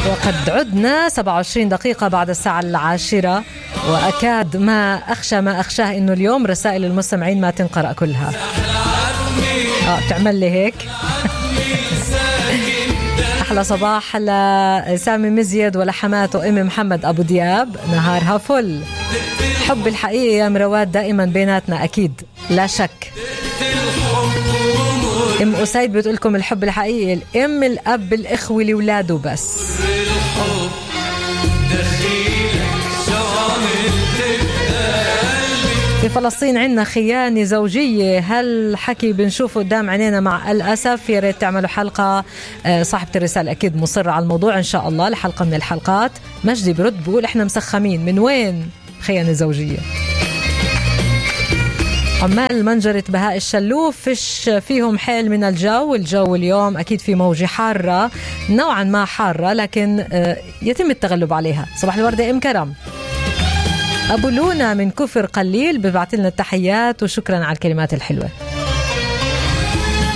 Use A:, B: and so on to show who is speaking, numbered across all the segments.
A: وقد عدنا 27 دقيقة بعد الساعة 10، وأكاد ما أخشاه إنه اليوم رسائل المستمعين ما تنقرأ كلها. تعمل لي هيك. أحلى صباح لسامي مزيد ولحماته أم محمد أبو دياب، نهارها فل. حب الحقيقي يا مرواد دائما بيناتنا أكيد لا شك. أم أسيد بتقولكم الحب الحقيقي الأم الأب الإخوة لولاده بس. في فلسطين عندنا خيانة زوجية، هل حكي بنشوفه قدام عينينا مع الأسف. يا ريت تعملوا حلقة. صاحبة الرسالة أكيد مصرة على الموضوع إن شاء الله لحلقة من الحلقات. مجدي برد بقول إحنا مسخمين، من وين خيانة زوجية؟ عمال منجرة بهاء الشلوف فيش فيهم حيل من الجو اليوم أكيد في موجة حارة نوعا ما حارة، لكن يتم التغلب عليها. صباح الوردة أم كرم. أبو لونا من كفر قليل ببعث لنا التحيات وشكرا على الكلمات الحلوة.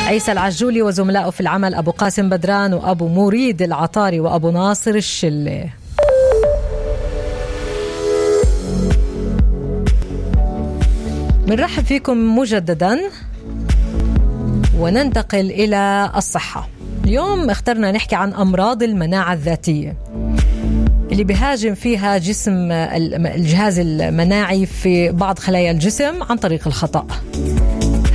A: عيسى العجولي وزملائه في العمل، أبو قاسم بدران وأبو مريد العطاري وأبو ناصر الشلة. بنرحب فيكم مجددا وننتقل إلى الصحة. اليوم اخترنا نحكي عن أمراض المناعة الذاتية اللي بيهاجم فيها جسم الجهاز المناعي في بعض خلايا الجسم عن طريق الخطأ.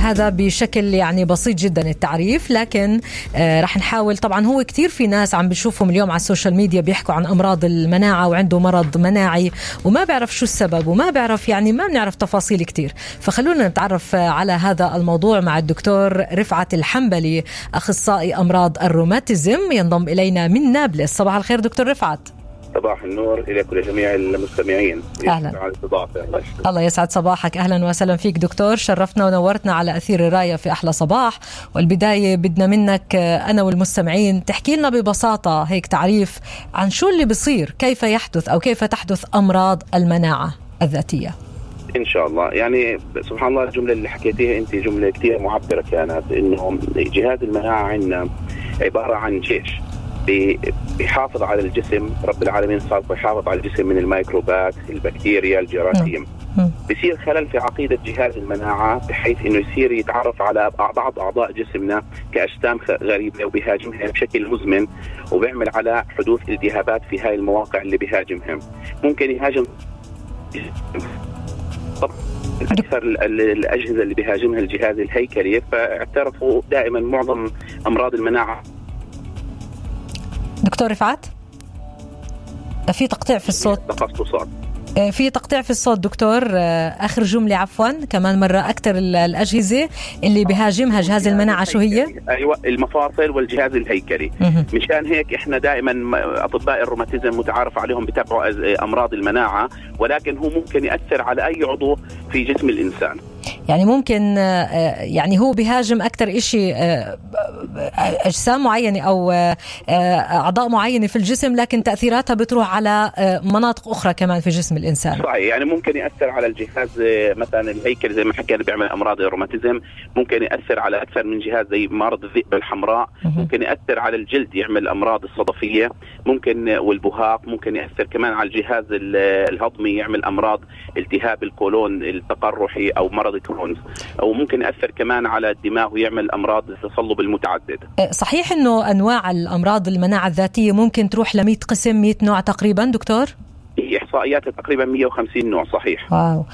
A: هذا بشكل يعني بسيط جدا التعريف، لكن رح نحاول. طبعا هو كتير في ناس عم بشوفهم اليوم على السوشيال ميديا بيحكوا عن أمراض المناعة وعنده مرض مناعي وما بيعرف شو السبب وما بيعرف، يعني ما بنعرف تفاصيل كتير. فخلونا نتعرف على هذا الموضوع مع الدكتور رفعت الحنبلي، أخصائي أمراض الروماتيزم، ينضم إلينا من نابلس. صباح الخير دكتور رفعت.
B: صباح النور إليك ولجميع المستمعين.
A: أهلا. الله يسعد صباحك. أهلا وسهلا فيك دكتور، شرفتنا ونورتنا على أثير الراية في أحلى صباح. والبداية بدنا منك أنا والمستمعين تحكي لنا ببساطة هيك تعريف عن شو اللي بصير، كيف يحدث أو كيف تحدث أمراض المناعة الذاتية.
B: إن شاء الله. يعني سبحان الله الجملة اللي حكيتيها أنت جملة كتير معبرة كانت، إنه جهاز المناعة عندنا عبارة عن جيش بيحافظ على الجسم. رب العالمين صار بيحافظ على الجسم من الميكروبات، البكتيريا، الجراثيم. بيصير خلل في عقيدة جهاز المناعة بحيث انه يصير يتعرف على بعض اعضاء جسمنا كأجسام غريبة وبيهاجمها بشكل مزمن، وبيعمل على حدوث التهابات في هاي المواقع اللي بيهاجمها. ممكن يهاجم أكثر الأجهزة اللي بيهاجمها الجهاز الهيكلي، فاعترفوا دائما معظم أمراض المناعة. دكتور
A: رفعت في تقطيع في الصوت.
B: تخصصات
A: في تقطيع في الصوت دكتور. آخر جملة عفوا كمان مرة. أكثر الأجهزة اللي بيهاجمها جهاز المناعة شو هي؟
B: أيوة المفاصل والجهاز الهيكلي. مشان هيك إحنا دائما أطباء الروماتيزم متعارف عليهم بتابعوا أمراض المناعة، ولكن هو ممكن يأثر على أي عضو في جسم الإنسان.
A: يعني ممكن يعني هو بيهاجم أكتر إشي أجسام معينة أو أعضاء معينة في الجسم، لكن تأثيراتها بتروح على مناطق أخرى كمان في جسم الإنسان.
B: صحيح. يعني ممكن يأثر على الجهاز مثلا الهيكل زي ما حكينا بيعمل أمراض الروماتيزم، ممكن يأثر على أكثر من جهاز زي مرض الذئب الحمراء، ممكن يأثر على الجلد يعمل أمراض الصدفية، ممكن والبهاق، ممكن يأثر كمان على الجهاز الهضمي يعمل أمراض التهاب الكولون التقرحي أو مرض كرونز، أو ممكن يأثر كمان على الدماغ ويعمل أمراض التصلب المتعدد.
A: صحيح إنه أنواع الأمراض المناعة الذاتية ممكن تروح ل100 قسم، 100 نوع تقريبا دكتور؟
B: إحصائيات تقريبا 150 نوع. صحيح.
A: واو.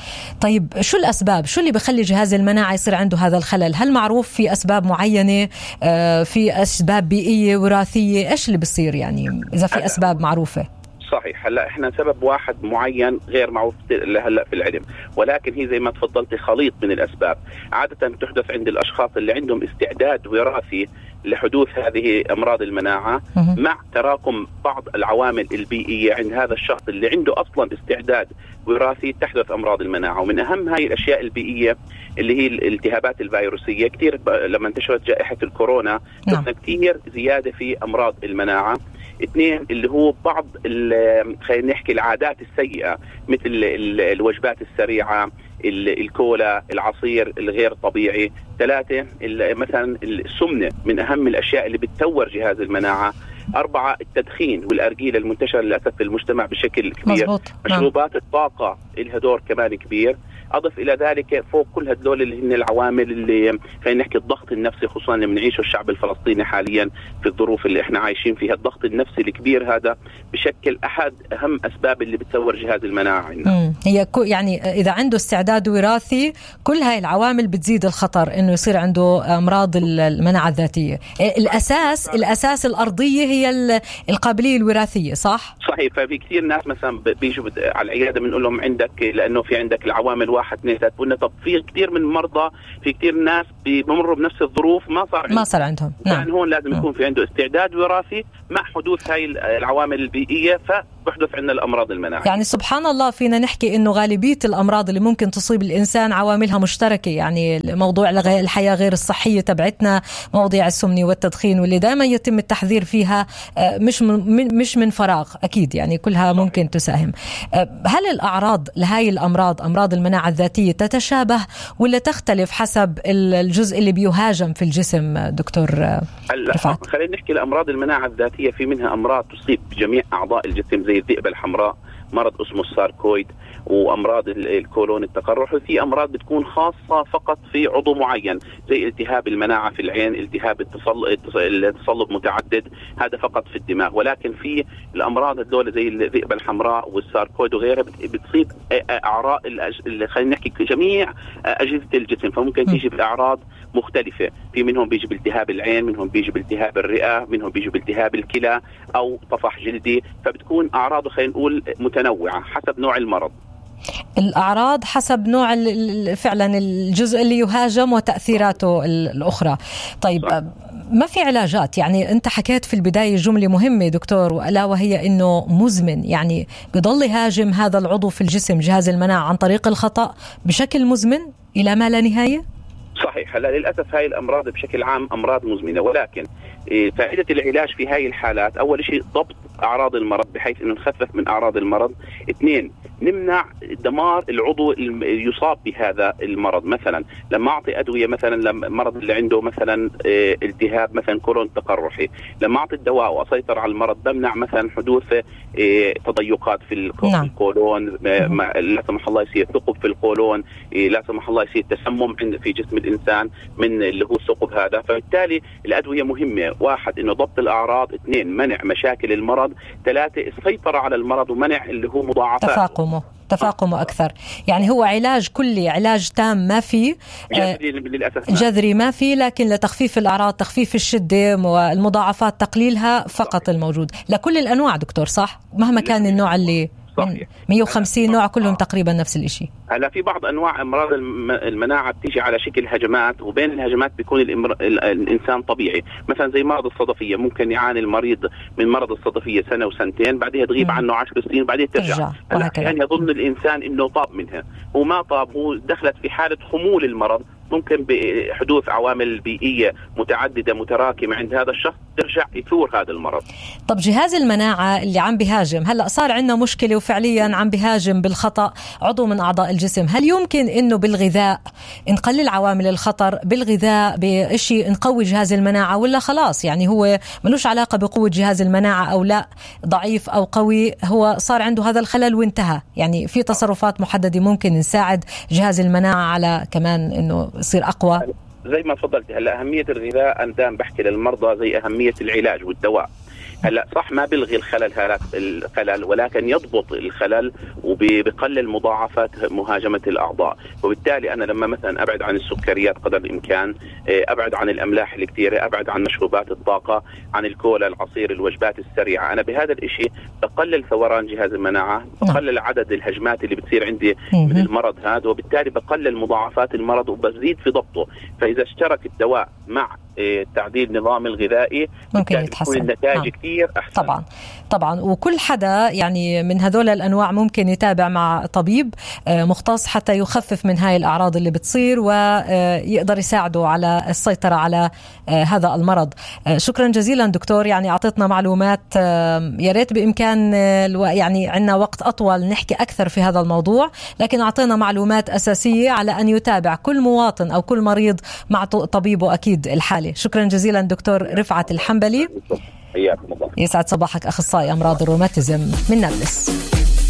A: طيب شو الأسباب؟ شو اللي بخلي جهاز المناعة يصير عنده هذا الخلل؟ هل معروف في أسباب معينة؟ في أسباب بيئية وراثية؟ إيش اللي بيصير يعني إذا في أسباب معروفة؟
B: صحيح. هلا احنا سبب واحد معين غير معروف هلا في العلم، ولكن هي زي ما تفضلتي خليط من الاسباب. عاده تحدث عند الاشخاص اللي عندهم استعداد وراثي لحدوث هذه امراض المناعه مع تراكم بعض العوامل البيئيه عند هذا الشخص اللي عنده اصلا استعداد وراثي تحدث امراض المناعه. ومن اهم هاي الاشياء البيئيه اللي هي الالتهابات الفيروسيه. كثير لما انتشرت جائحه الكورونا شفنا كثير زياده في امراض المناعه. 2 اللي هو بعض خلينا نحكي العادات السيئة مثل الوجبات السريعة، الكولا، العصير الغير طبيعي. 3 مثلا السمنة من أهم الأشياء اللي بتطور جهاز المناعة. 4 التدخين والأرجيلة المنتشرة للأسف في المجتمع بشكل كبير.
A: مزبوط.
B: مشروبات الطاقة لها دور كمان كبير. أضف إلى ذلك فوق كل هدول اللي هن العوامل اللي خلينا نحكي الضغط النفسي، خصوصا اللي بنعيشه الشعب الفلسطيني حاليا في الظروف اللي احنا عايشين فيها. الضغط النفسي الكبير هذا بشكل أحد أهم أسباب اللي بتسور جهاز المناعة عندنا.
A: هي يعني إذا عنده استعداد وراثي كل هاي العوامل بتزيد الخطر إنه يصير عنده أمراض المناعة الذاتية. الأساس الأرضية هي القابلية الوراثية، صح؟
B: صحيح. ففي كثير ناس مثلا بيجوا على العيادة بنقول لهم عندك لأنه في عندك العوامل 1 2 3. قلنا طب في كثير من المرضى، في كثير ناس بيمروا بنفس الظروف ما صار عندهم. يعني هون لازم يكون في عنده استعداد وراثي مع حدوث هاي العوامل البيئية، فبحدث عندنا الأمراض المناعية.
A: يعني سبحان الله فينا نحكي إنه غالبية الأمراض اللي ممكن تصيب الإنسان عواملها مشتركة. يعني موضوع الحياة غير الصحية تبعتنا، مواضيع السمنة والتدخين واللي دائما يتم التحذير فيها مش من فراغ أكيد، يعني كلها ممكن تساهم. هل الأعراض لهاي الأمراض، أمراض المناعة الذاتية، تتشابه ولا تختلف حسب الجزء اللي بيهاجم في الجسم دكتور رفعت؟
B: خلينا نحكي الأمراض المناعة الذاتية في منها أمراض تصيب جميع أعضاء الجسم زي الذئبة الحمراء، مرض اسمه الساركويد، وأمراض الكولون التقرحي. في أمراض بتكون خاصة فقط في عضو معين زي التهاب المناعة في العين، التهاب التصلب متعدد، هذا فقط في الدماغ. ولكن في الأمراض الدولة زي الذئبة الحمراء والساركويد وغيرها بتصيب أعراض خلينا نحكي جميع أجهزة الجسم، فممكن تيجي بأعراض مختلفة. في منهم بيجي بالتهاب العين، منهم بيجي بالتهاب الرئة، منهم بيجي بالتهاب الكلى أو طفح جلدي. فبتكون أعراضه خلينا نقول متنوعة حسب نوع المرض.
A: الأعراض حسب نوع فعلا الجزء اللي يهاجم وتأثيراته الأخرى. طيب ما في علاجات؟ يعني أنت حكيت في البداية جملة مهمة دكتور، وألا وهي إنه مزمن، يعني بيضل يهاجم هذا العضو في الجسم جهاز المناعة عن طريق الخطأ بشكل مزمن إلى ما لا نهاية.
B: صحيح. هلا للأسف هاي الأمراض بشكل عام أمراض مزمنة، ولكن فائدة العلاج في هاي الحالات أول شيء ضبط أعراض المرض بحيث إنه نخفف من أعراض المرض. 2 نمنع دمار العضو يصاب بهذا المرض. مثلا لما أعطي أدوية، مثلا لما المرض اللي عنده مثلا التهاب مثلا كولون تقرحي، لما أعطي الدواء وأسيطر على المرض بمنع مثلا حدوث تضيقات في القولون، لا سمح الله يصير ثقب في القولون، لا سمح الله يصير تسمم في جسم الإنسان من اللي هو الثقب هذا. فبالتالي الأدوية مهمة. 1 إنه ضبط الأعراض، 2 منع مشاكل المرض، 3 السيطرة على المرض ومنع اللي هو مضاعفات
A: تفاقمه أكثر. يعني هو علاج كلي، علاج تام ما في، جذري ما في، لكن لتخفيف الأعراض، تخفيف الشدة والمضاعفات تقليلها فقط الموجود لكل الأنواع دكتور، صح؟ مهما كان النوع اللي 150 نوع كلهم تقريبا نفس الشيء.
B: هلا في بعض انواع امراض المناعه بتيجي على شكل هجمات، وبين الهجمات بيكون الانسان طبيعي. مثلا زي مرض الصدفيه، ممكن يعاني المريض من مرض الصدفيه 1 و2 سنين، بعدها تغيب عنه 10 سنين وبعدين ترجع. يعني يظن الانسان انه طاب منها، وما طاب، هو دخلت في حاله خمول المرض، ممكن بحدوث عوامل بيئية متعددة متراكمة عند هذا الشخص ترجع يثور هذا المرض.
A: طب جهاز المناعة اللي عم بيهاجم، هلأ صار عندنا مشكلة وفعليا عم بيهاجم بالخطأ عضو من أعضاء الجسم، هل يمكن إنه بالغذاء نقلل عوامل الخطر، بالغذاء بشيء نقوي جهاز المناعة، ولا خلاص يعني هو ملوش علاقة بقوة جهاز المناعة أو لا، ضعيف أو قوي، هو صار عنده هذا الخلل وانتهى؟ يعني في تصرفات محددة ممكن نساعد جهاز المناعة على كمان إنه يصير أقوى؟
B: زي ما تفضلت. هلا أهمية الغذاء أنا دائما بحكي للمرضى زي أهمية العلاج والدواء. هلا صح ما بلغي الخلل ولكن يضبط الخلل وبقلل مضاعفات مهاجمة الأعضاء. وبالتالي أنا لما مثلا أبعد عن السكريات قدر الإمكان، أبعد عن الأملاح الكثيرة، أبعد عن مشروبات الطاقة، عن الكولا، العصير، الوجبات السريعة، أنا بهذا الإشي بقلل ثوران جهاز المناعة، بقلل عدد الهجمات اللي بتصير عندي من المرض هذا، وبالتالي بقلل مضاعفات المرض وبزيد في ضبطه. فإذا اشترك الدواء مع تعديل نظام الغذائي
A: ممكن يتحسن
B: النتائج كثير أحسن.
A: طبعا وكل حدا يعني من هذول الأنواع ممكن يتابع مع طبيب مختص حتى يخفف من هاي الأعراض اللي بتصير ويقدر يساعده على السيطرة على هذا المرض. شكرا جزيلا دكتور، يعني أعطيتنا معلومات، يا ريت بإمكان يعني عندنا وقت أطول نحكي أكثر في هذا الموضوع، لكن أعطينا معلومات أساسية على أن يتابع كل مواطن أو كل مريض مع طبيبه أكيد الحالي. الحالة. شكرا جزيلا دكتور رفعت الحنبلي.
B: حياكم الله.
A: يسعد صباحك، أخصائي أمراض الروماتيزم من نابلس.